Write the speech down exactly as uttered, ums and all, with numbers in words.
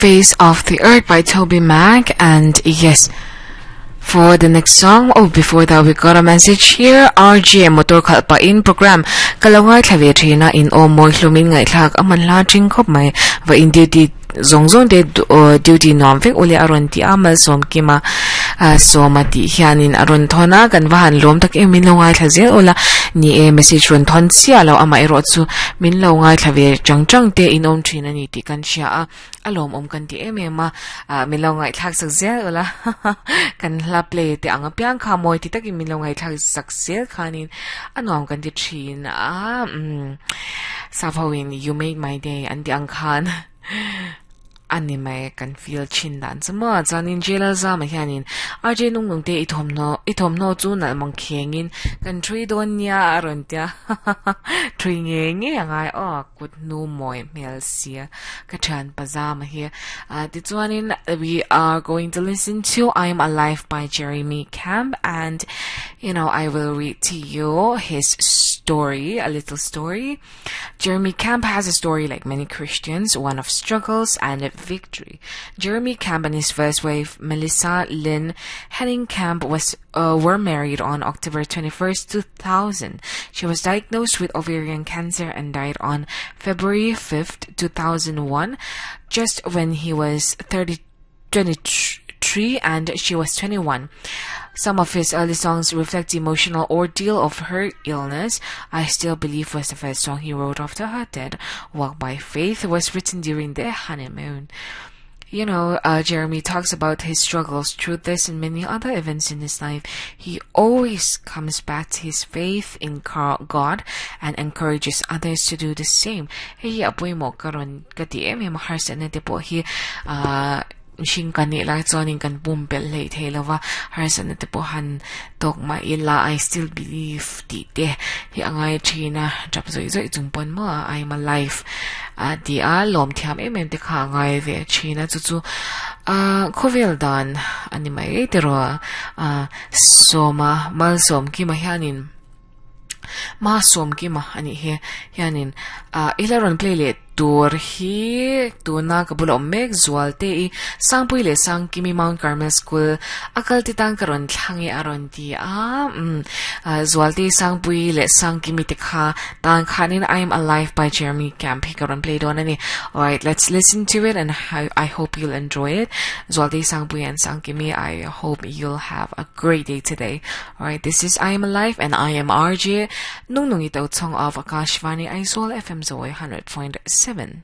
Face of the Earth by Toby Mac. And yes, for the next song, oh, before that, we got a message here. R G motor khalh pah in program ka lo ngaithla ve thina in aw mawi hlumin ngaihthlak aman hla thing khawp mai va in duty zawng zawng te duty nuam vek ule a rawn ti a malsawm kima sawma tih hianin a rawn thawn a kan va han lawm tak em min lo ngaithla zel ula ni e message rawn thawn chiah lo amah erawh chu min lo ngaithla ve chang chang te in awm thin ani tih kan hria a a lawm awm kan ti em em a min lo ngaihthlak sak zel ula kan hla play te ang apiang kha mawi ti takin min lo ngaihthlak sak zel khanin a nuam kan ti thin a um savoin "You made my day" an ti ang khan ani mai kan feel chin dan chuma chuanin jela zama hianin R J nung nung te i thawmhnaw i thawmhnaw chu nalh mang khengin kan thui dawn nia a rawn tia thui nge nge angai aw kut nu mawi hmel sia ka thian pazama hi tichuanin we are going to listen to "I'm Alive" by Jeremy Camp, and you know I will read to you his story, a little story. Jeremy Camp has a story like many Christians, one of struggles and victory. Jeremy Camp and his first wife, Melissa Lynn Henning Camp, was uh, were married on October twenty-first, two thousand. She was diagnosed with ovarian cancer and died on February fifth, two thousand one, just when he was thirty, twenty-three and she was twenty-one. Some of his early songs reflect the emotional ordeal of her illness. "I Still Believe" was the first song he wrote after her death. "Walk by Faith" was written during their honeymoon. You know, uh, Jeremy talks about his struggles through this and many other events in his life. He always comes back to his faith in God and encourages others to do the same. Hei apui mo karon ka ti em em har na te po hi uh, hring kan nih lai chuanin kan pum pel hlei thei lova harsatna te pawh han tawk mah ila "I still believe" tih te hi angai thina tap zawih zawih chung pawn maw "I'm alive" a ti a lawm thiam em em te kha angai ve thina chu chu a khawvel dan ani mai tiraw a sawma malsawm kima hianin ma sawm kima ani hi hianin a ila rawn play leh tur hi tuna ka bula awm mek zual te i Sangpui leh Sangkimi Mount Carmel School akal ti tang ka rawn thlangi a rawn ti a um zual te Sangpui leh Sangkimi te kha tan khanin "I'm Alive" by Jeremy Camp hi ka rawn play dawn ani. Alright, let's listen to it and I, I hope you'll enjoy it. Zual te, Sangpui and Sangkimi, I hope you'll have a great day today. Alright, this is "I Am Alive" and I am R J Nung Nung Ito Tong of Akashvani Aizawl F M Zoe one hundred point seven.